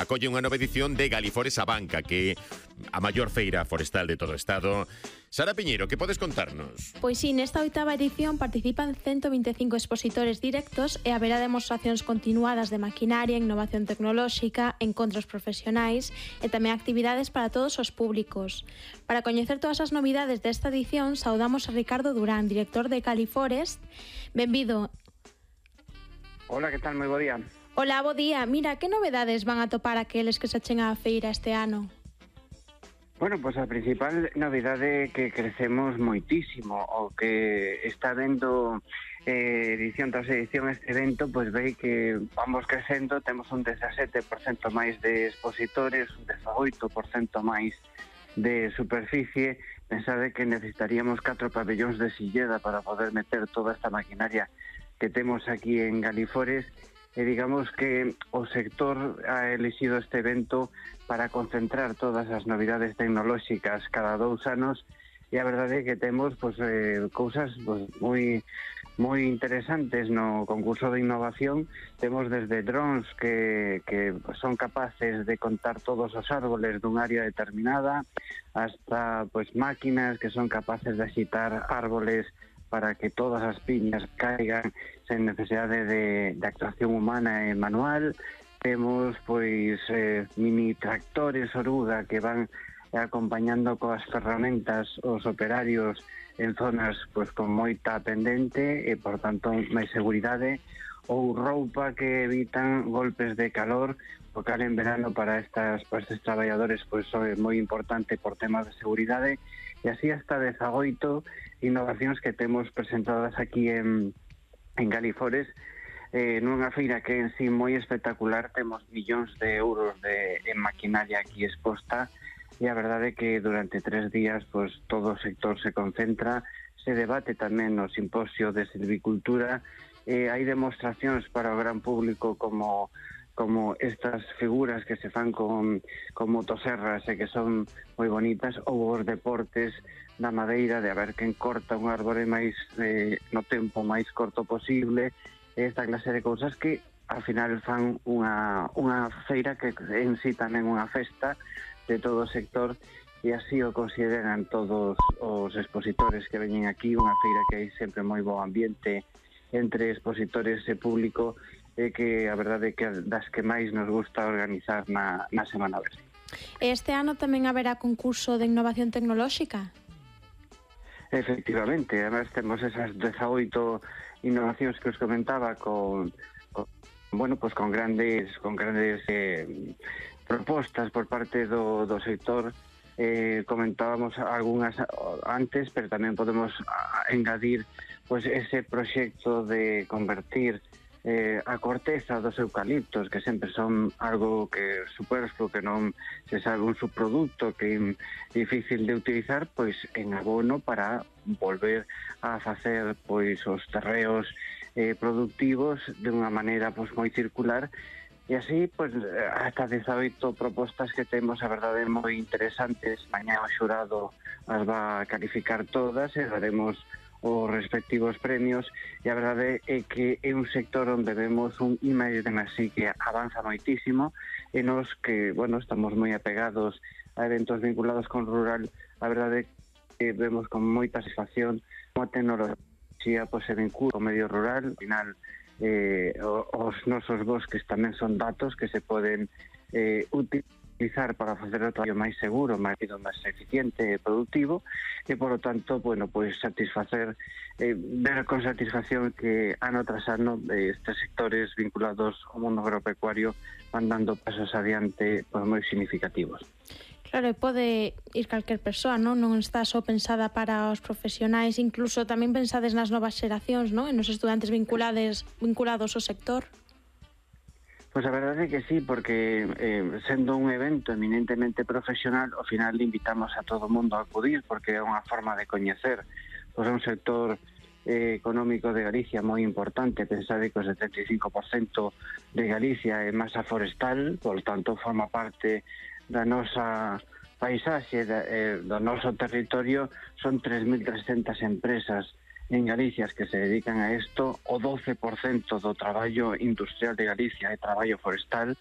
acolle unha nova edición de Galifores a Banca, que é a maior feira forestal de todo o Estado. Sara Piñeiro, que podes contarnos? Pois sí, nesta 8ª edición participan 125 expositores directos e haberá demostracións continuadas de maquinaria, innovación tecnolóxica, encontros profesionais e tamén actividades para todos os públicos. Para coñecer todas as novidades desta edición, saudamos a Ricardo Durán, director de Galifores. Benvido. Hola, que tal? Moi bo día. Hola, bo día. Mira, que novedades van a topar aqueles que se achen á feira este ano? Bueno, pues a principal novidade que crecemos moitísimo, o que está vendo edición tras edición este evento, pues ve que vamos crecendo, temos un 17% máis de expositores, un 18% máis de superficie. Pensade que necesitaríamos 4 pabellóns de Silleda para poder meter toda esta maquinaria que temos aquí en Galifores, e digamos que o sector ha elixido este evento para concentrar todas as novidades tecnolóxicas cada 2 anos, e a verdade é que temos cousas moi interesantes no concurso de innovación. Temos desde drones que son capaces de contar todos os árboles dun área determinada, hasta máquinas que son capaces de axitar árboles para que todas as piñas caigan sen necesidade de actuación humana e manual. Temos mini tractores oruga que van acompañando coas ferramentas os operarios en zonas con moita pendente e, por tanto, máis seguridade, ou roupa que evitan golpes de calor, porque en verano para estes traballadores é moi importante por temas de seguridade. E así hasta 18 innovacións que temos presentadas aquí en Galifores, nunha feira que en sí moi espectacular. Temos millóns de euros en maquinaria aquí exposta, e a verdade é que durante 3 días todo o sector se concentra, se debate tamén no simposio de silvicultura, hai demostracións para o gran público como estas figuras que se fan con motoserras e que son moi bonitas, ou os deportes da madeira, de a ver quen corta un árbore máis no tempo máis corto posible, esta clase de cousas que ao final fan unha feira que en sí tamén unha festa de todo o sector, e así o consideran todos os expositores que veñen aquí. Unha feira que hai sempre moi bo ambiente entre expositores e público, e que a verdade é que das que máis nos gusta organizar na Semana Verde. Este ano tamén haberá concurso de innovación tecnolóxica? Efectivamente, además temos esas 18 innovacións que os comentaba con grandes propostas por parte do sector. Comentábamos algunhas antes, pero tamén podemos engadir ese proxecto de convertir a corteza dos eucaliptos, que sempre son algo que superfluo, que non se sabe, un subproducto que é difícil de utilizar, en abono para volver a facer os terreos productivos de unha maneira moi circular. E así, hasta 18 propostas que temos, a verdade, moi interesantes. Mañá o xurado as va a calificar todas e daremos os respectivos premios, e a verdade é que é un sector onde vemos un I+D+I que avanza moitísimo, e nos que, estamos moi apegados a eventos vinculados con rural, a verdade é que vemos con moita satisfacción como a tecnoloxía se vincula ao medio rural. Al final, os nosos bosques tamén son datos que se poden utilizar para facer o traballo máis seguro, máis rápido, máis eficiente e productivo, e, por lo tanto, satisfacer, ver con satisfacción que ano tras ano estes sectores vinculados ao mundo agropecuario van dando pasos adiante moi significativos. Claro, e pode ir calquer persoa, non está só pensada para os profesionais, incluso tamén pensades nas novas xeracións, non? E nos estudantes vinculados ao sector. Pois a verdade é que sí, porque sendo un evento eminentemente profesional, ao final invitamos a todo o mundo a acudir, porque é unha forma de coñecer un sector económico de Galicia moi importante. Pensade que o 75% de Galicia é masa forestal, por tanto forma parte da nosa paisaxe, do noso territorio. Son 3.300 empresas en Galicia que se dedican a isto. O 12% do traballo industrial de Galicia é traballo forestal,